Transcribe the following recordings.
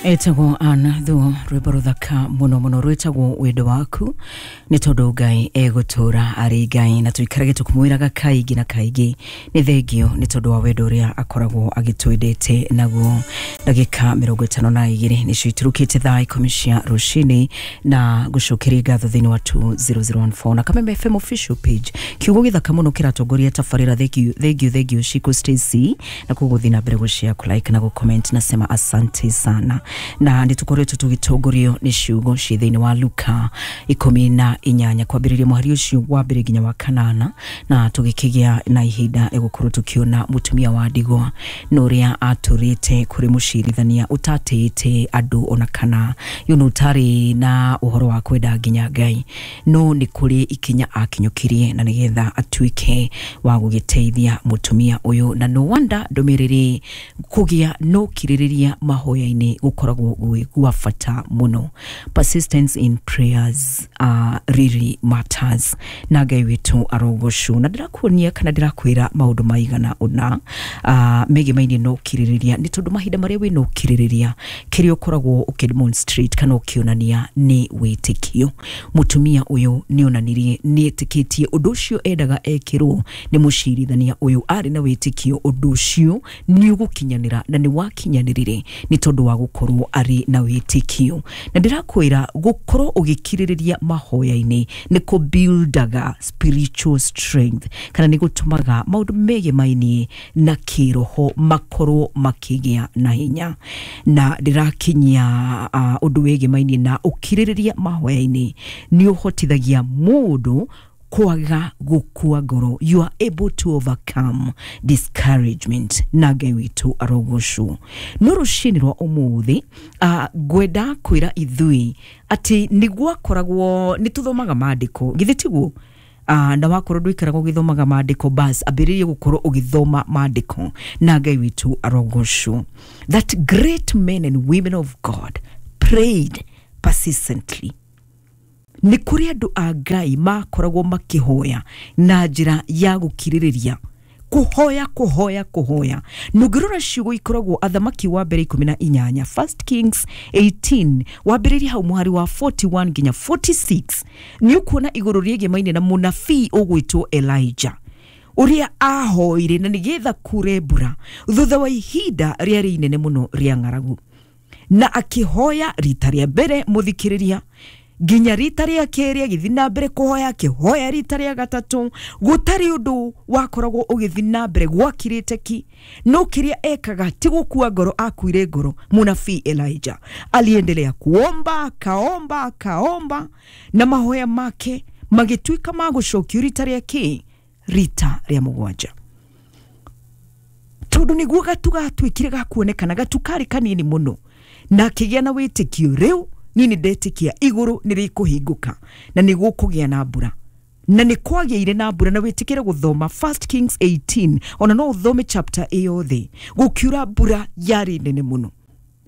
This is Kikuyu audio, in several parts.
Etagwo Ann Thuo, rwĩmbo rũthaka mũno mũno rwĩtagwo Wendo Waku, nĩ tondũ Ngai egũtũra arĩ Ngai na tũikarage tũkĩmwĩraga kaingĩ na kaingĩ nĩ thengio nĩ tondũ wa wendo ũrĩa akoragwo agĩtwendete naguo. Ndagĩka 52 nĩcio iturukĩte thaa 10 cia rũcinĩ, na gũcokeria ngatho thĩinĩ wa 2014 na Kameme FM official page. Kiugo gĩthaka mũno kĩratongoria tabarĩra. Thank you, thank you, thank you, Shiko Stacy, na koguo thiĩ na mbere gũshare, kũlike na gũcomment. Nasema asante sana. Na nĩ tũkoretwo tũgĩtongorio nĩ ciugo ciĩ thĩinĩ wa Luka 18, kwambĩrĩria mũhari ũcio wa mbere nginya wa kanana, na tũgĩkĩgĩa na ihinda rĩa gũkorwo tũkĩona mũtumia wa ndigwa na ũrĩa atũrĩte kũrĩ mũcirithania ũtatĩĩte andũ ona kana ũtarĩ na ũhoro wa kwenda nginya Ngai, no nĩ kũrĩ ikinya akinyũkirie na nĩgetha atuĩke wa gũgĩteithia mũtumia ũyũ. Na no wonder ndũmĩrĩri kũgĩa no kirĩrĩria mahoya-inĩ gũkoragwo gwĩ gwa bata mũno. Persistence in prayers really matters, na Ngai witũ arogocwo. Na ndĩrakuonia kana ndĩrakwĩra maũndũ maigana ũna megemainie na ũkirĩrĩria, nĩ tondũ mahinda marĩa wĩna ũkirĩrĩria, kĩrĩa ũkoragwo ũkĩdemonstrate kana ũkĩonania nĩ wĩtĩkio. Mũtumia ũyũ nĩ onanirie nĩ etĩkĩtie ũndũ ũcio endaga ekĩrwo nĩ mũcirithania ũyũ. Arĩ na wĩtĩkio ũndũ ũcio nĩ ũgũkinyanĩra, na nĩ wakinyanĩrire nĩ tondũ wa gũkorwo arĩ na wĩtĩkio. Na ndĩrakwĩra gũkorwo ũgĩkirĩrĩria mahoya-inĩ nĩ kũbuildaga spiritual strength, kana nĩ gũtũmaga maũndũ megemainie na kĩroho makorwo makĩgĩa na hinya. Na ndĩrakinyia ũndũ wĩgemainie na ũkirĩrĩria mahoya-inĩ nĩ ũhotithagia mũndũ kwaga gũkua ngoro. You are able to overcome discouragement, na Ngai witũ arogocwo. No rũcinĩ rwa ũmũthĩ, ngwenda kwĩra ithuĩ atĩ nĩ gwakoragwo nĩ tũthomaga maandĩko, githĩ tiguo? Na wakorwo ndũikaraga ũgĩthomaga maandĩko, bas ambĩrĩrie gũkorwo ũgĩthoma maandĩko, na Ngai witũ arogocwo. That great men and women of God prayed persistently. Nĩ kũrĩ andũ a Ngai makoragwo makĩhoya na njĩra ya gũkirĩrĩria, kũhoya, kũhoya, kũhoya. Nũngĩrora ciugo ikoragwo Athamaki wa Mbere 18, First Kings 18, wambĩrĩria hau mũhari wa 41 nginya 46, nĩ ũkuona igũrũ rĩegemaine na mũnabii ũgwĩtwo Elijah, ũrĩa ahoire na nĩgetha kure mbura thutha wa ihinda rĩarĩ inene mũno rĩa ng'aragu. Na akĩhoya rita rĩa mbere, mũthikĩrĩria, nginya rita rĩa kerĩ, agĩthiĩ na mbere kũhoya, akĩhoya rita rĩa gatatũ, gũtarĩ ũndũ wakoragwo ũgĩthiĩ na mbere, gwakirĩte ki. No kĩrĩa ekaga ti gũkua ngoro akuire ngoro. Mũnabii Elijah aliendelea kuomba, akaomba, akaomba, na mahoya make magĩtuĩka ma gũcokio rita rĩa kĩ? Rita rĩa mũgwanja, tondũ nĩguo gatu gatuĩkire gakuonekana. Gatu karĩ kanini mũno, na akĩgĩa na wĩtĩkio, rĩu niĩ nĩ ndetĩkia igũrũ nĩ rĩkũhingũka na nĩ gũkũgĩa na mbura. Na nĩ kwagĩire na mbura. Na wĩtĩkĩre gũthoma First Kings 18, ona no ũthome chapter ĩyothe, gũkiura mbura yarĩ nene mũno,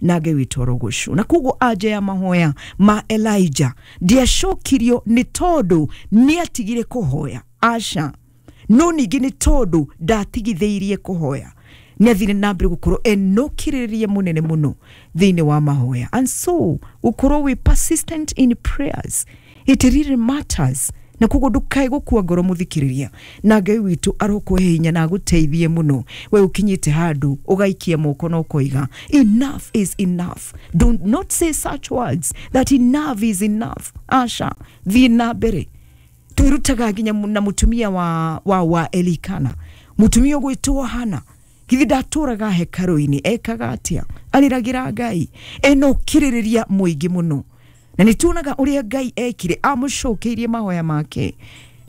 na Ngai witũ arogocwo. Na koguo anja ya mahoya ma Elijah ndiacokirio nĩ tondũ nĩ atigire kũhoya, aca, no ningĩ nĩ tondũ ndatigithĩirie kũhoya. Nĩ athire na mbere gũkorwo enokĩrĩria mũnene mũno thĩinĩ wa mahoya. And so gũkorwo wĩ persistent in prayers, it really matters. Na koguo ndukae gũkua ngoro, mũthikĩrĩria, na Ngai witũ arokũhe hinya na agũteithie mũno. We ũkinyĩte handũ ũgaikia moko na ũkoiga enough is enough, do not say such words that enough is enough. Aca, thiĩ na mbere. Twĩrutaga nginya na mũtumia wa Elikana, mũtumia ũgwĩtwo Hana. Githi ndatũraga hekarũ-inĩ? Ekaga atĩa? Arĩragĩra Ngai ena ũkirĩrĩria mũingĩ mũno, na nĩ tuonaga ũrĩa Ngai ekire, amũcokeirie mahoya make.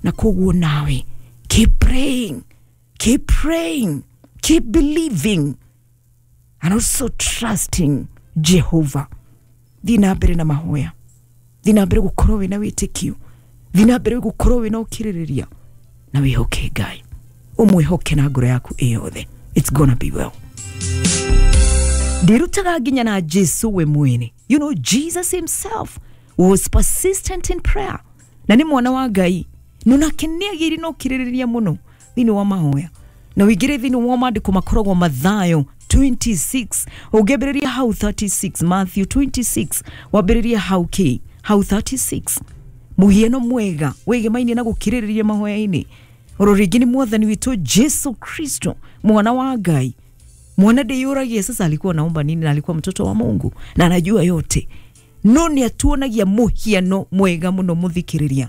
Na koguo nawe keep praying, keep praying, keep believing and also trusting Jehovah. Thiĩ na mbere na mahoya, thiĩ na mbere gũkorwo wĩna wĩtĩkio, thiĩ na mbere gũkorwo wĩna ũkirĩrĩria, na wĩhoke Ngai, ũmwĩhoke na ngoro yaku ĩyothe. It's gonna be well. Ndirutaga nginya na Jesu we mwene. Jesus himself was persistent in prayer, na nĩ mwana wa Ngai, no nake nĩ agĩire na ũkirĩrĩria mũno thĩinĩ wa mahoya. Na wĩingĩre thĩinĩ wa maandĩko makoragwo Mathayo 26 ũngĩambĩrĩria hau 36, Matthew 26 wambĩrĩria hau kĩ hau 36, mũhiano mwega wĩgemaine na gũkirĩrĩria mahoya-inĩ. Oro rĩngĩ nĩ mwathani witũ Jesu Kristo, mwana wa Ngai, mwana ndĩyũragia sasa alikuwa naomba nini, na alikuwa mtoto wa Mungu na anajua yote, no nĩ atuonagia mũhiano mwega mũno mũthikĩrĩria.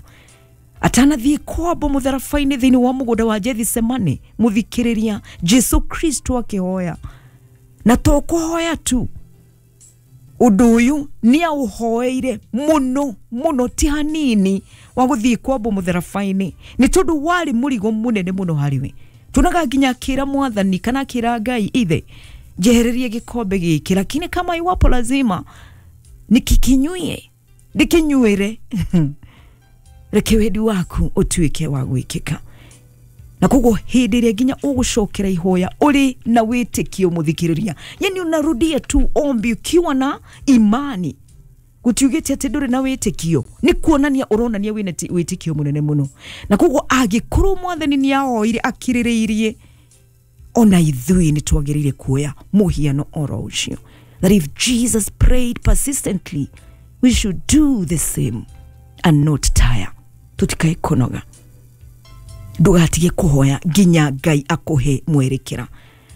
Atanathiĩ kwambo mũtharaba-inĩ thĩinĩ wa mũgũnda wa Gethsemane, mũthikĩrĩria, Jesu Kristo akĩhoya, na to kũhoya tu, ũndũ ũyũ nĩ aũhoeire mũno mũno, ti hanini wa gũthiĩ kwambo mũtharaba-inĩ, nĩ tondũ warĩ mũrigo mũnene mũno harĩ we. Tuonaga nginya akĩra mwathani kana akĩra Ngai ithe, njehererie gĩkombe gĩkĩ, lakini kama iwapo lazima nikikinywie, ndikinyuĩre, reke wendi waku ũtuĩke wa gwĩkĩka. Na koguo hĩndĩ ĩrĩa nginya ũgũcokera ihoya ũrĩ na wĩtĩkio mũthikĩrĩria, yani unarudia tu ombi ukiwa na imani, gũtiugĩte atĩ ndũrĩ na wĩtĩkio, nĩ kuonania ũronania wĩna wĩtĩkio mũnene mũno. Na koguo angĩkorwo mwathani nĩ ahoire akirĩrĩirie, ona ithuĩ nĩ twagĩrĩire kuoya mũhiano oro ũcio, that if Jesus prayed persistently, we should do the same and not tire. Tutikae kunoga, ndugatige kuhoya nginya Ngai akuhe mwerekera.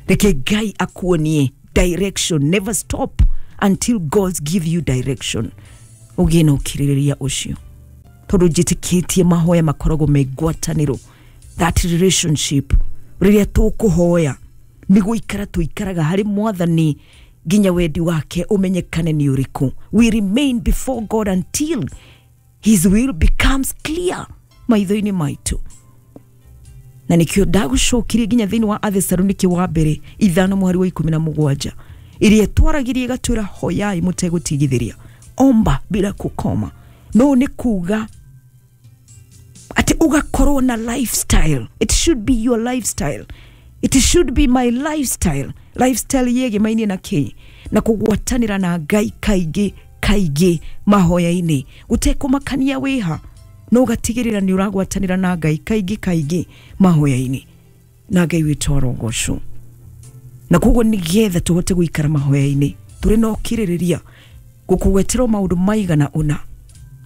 Reke Ngai akuonie direction. Never stop until God give you direction. Ũgĩe na ũkirĩrĩria ũcio, tondũ njĩtĩkĩtie mahoya makoragwo me ngwatanĩro, that relationship. Rĩrĩa tũkũhoya nĩ gũikara tũikaraga harĩ mwathani nginya wendi wake ũmenyekane nĩ ũrĩkũ. We remain before God until his will becomes clear maitho-inĩ maitũ. Na nikio ndagũcokirie nginya thĩinĩ wa Athesalonike wa mbere 5 mũhari wa 17, ĩrĩa ĩtwaragirie ĩgatwĩra hoyai mũtegũtigithĩria, omba bila kukoma. No nĩ kuga atĩ ũgakorwo na lifestyle. It should be your lifestyle. It should be my lifestyle. Lifestyle yegemaine na kĩ? Na kũgwatanĩra na Ngai kaingĩ kaingĩ mahoya-inĩ, gũtekũmakania wĩha, no ũgatigĩrĩra nĩ ũragwatanĩra na Ngai kaingĩ kaingĩ mahoya-inĩ, na Ngai witũ arogocwo. Na koguo nĩgetha tũhote gũikara mahoya-inĩ tũrĩ na ũkirĩrĩria, gũkũgweterwo maũndũ maigana ũna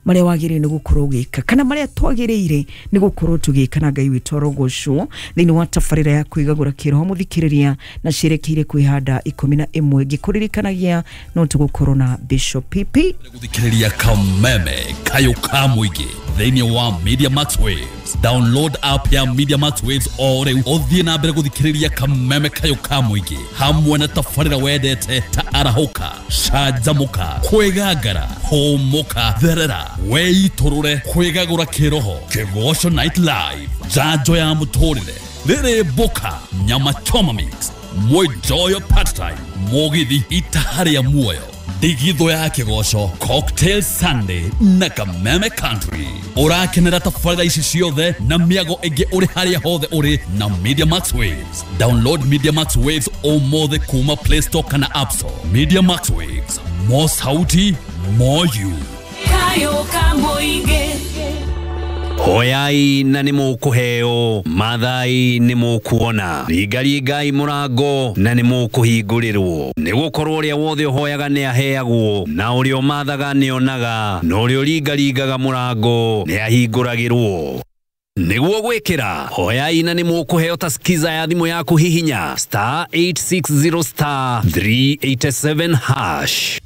marĩa wagĩrĩire nĩ gũkorwo ũgĩka, kana marĩa twagĩrĩire nĩ gũkorwo tũgĩka, na Ngai witũ arogocwo. Thĩinĩ wa tabarĩra ya kwĩgagũra kĩroho mũthikĩrĩria, na ciĩrekeire kwĩhanda 11, ngĩkũririkanagia no tũgũkorwo na Bishop PP Gũthikĩrĩria Kameme Kayũ ka Mũingĩ thĩinĩ wa Media Max Waves. Download app ya Media Max Waves o rĩu, ũthiĩ na mbere gũthikĩrĩria Kameme Kayũ ka Mũingĩ hamwe na tabarĩra wendete ta Arahũka, Canjamũka, Kwĩgangara, Hũmũka, Therera, Wĩitũrũre, Kwĩgagũra Kĩroho, Kĩgoco Night Live, Njanjo ya Mũtũrĩre, Rĩrĩ Mboka, Nyama Choma Mix, Mwĩnjoyo Part-Time, Mũgithi Itaha rĩa Muoyo, Ndigithũ ya Kĩgoco, Cocktail Sunday na Kameme Country. Ũrakenera tabarĩra ici ciothe na mĩago ĩngĩ ũrĩ harĩa hothe ũrĩ na Media Max Waves. Download Media Max Waves ũmũthĩ kuma Play Store kana App Store. Media Max Waves, more sauti, more you. Kayũ ka Mũingĩ. Hoyai na nĩ mũkũheo, mathai nĩ mũkuona, ringaringai mũrango na nĩ mũkũhingũrĩrwo. Nĩ gũkorwo ũrĩa wothe ũhoyaga nĩ aheagwo, na ũrĩa ũmathaga nĩ onaga, na ũrĩa ũringaringaga mũrango nĩ ahingũragĩrwo. Nĩguo gwĩkĩra, hoyai na nĩ mũkũheo ta skiza ya thimũ yaku, hihinya star 860 star 387 hash.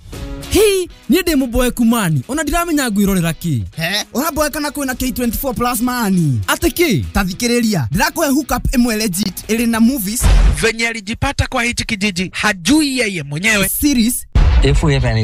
Hii niĩ ndĩ mũboeku mani, ona ndiramenya ngwĩrorera kĩ. He ũraboeka na kwĩna K24 plus mani. Atĩ kĩ? Ta thikĩrĩria, ndĩrakũhe hookup ĩmwe legit ĩrĩ na movies. Venye alijipata kwa hichi kijiji hajui yeye mwenyewe. Series If we have any